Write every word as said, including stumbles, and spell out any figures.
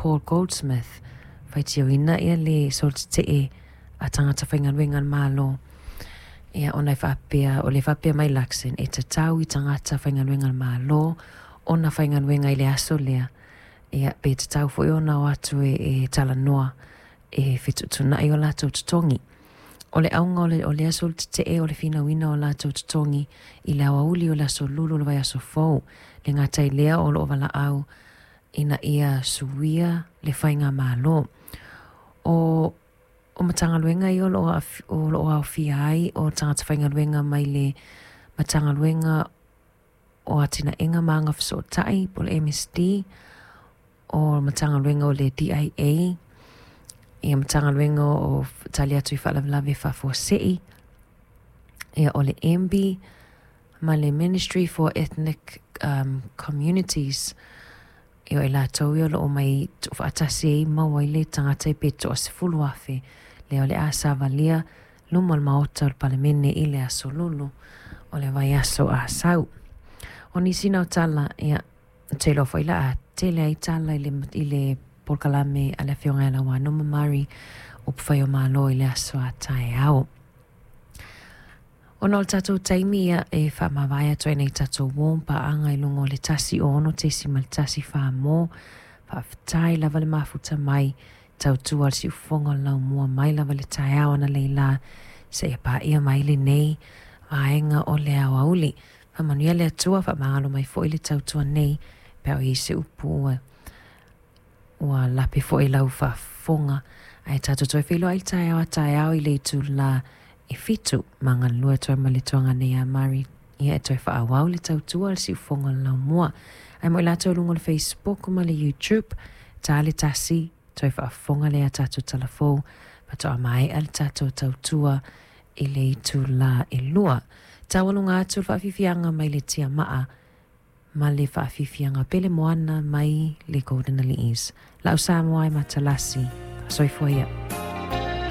Paul Goldsmith, faitioina ia le solotetee a tagata faigaluega a le Malo. Ia ona e faapea, o le faapea mai Luxon, e tatau i tagata faigaluega a le Malo ona faigaluega i le aso lea. Ia pe tatau foi ona o atu e, e talanoa e fetuutuunai o latou totogi. O le auga o le, o le aso tetee o le finauina o latou totogi i le aoauli o le aso lulu o le vaiaso fou. Le gata i lea o loo valaau ina ia suia le faigamalo. O o Matagaluega ia o loo o loo aofia ai o tagata faigaluega mai le Matagaluega o Atinaega ma Agafesootai po o le M S D, o Matagaluega o le D I A, ia Matagaluega o Tali atu i Faalavelave Faafuasei, ia o le M B, ma le Ministry for Ethnic um, Communities. Ia o i latou ia o loo mai tuufaatasi ai maua ai le tagata e pe toasefulu afe lea o le a savalia luma o le maota o le Palemene i le aso lulu o le vaiaso a sau. O nisi na o tala, ia, te iloa foi la a tele ai tala i le, i le polokalame a le afioga ia Lauano ma Mari o pufai o malo i le aso a taeao. Ona o le tatou taimi ia e faamavae atu ai nei tatou uo paaga i luga o le tasi ono tesimal tasi fa mo. Faafetai lava le mafuta mai tautua le siufofoga o le laumua mai lava le taeao ana leila seia paia mai lenei vaega o le aoauli. Faamanuia le Atua, faamagalo mai foi le tautua nei pe a o i ai se upu ua ua lape foi lau faafofoga. Ae tatou toe feiloai le taeao a taeao i le itula e fitu ma galulue atu ai ma le tuaga nei a Mari. Ia e toe faaauau le tautua le siufofoga o le laumua. Ae mo i latou luga o le Facebook ma le YouTube, ta le tasi, toe faafofoga lea tatou talafou, faatoa maea le tatou tautua i le itula e lua. Taualuga atu le faafiafiaga mai le tiamaa ma le faafiafiaga pele moana mai le Golden Allies. Lau Samoa e matalasi. Soifua ia.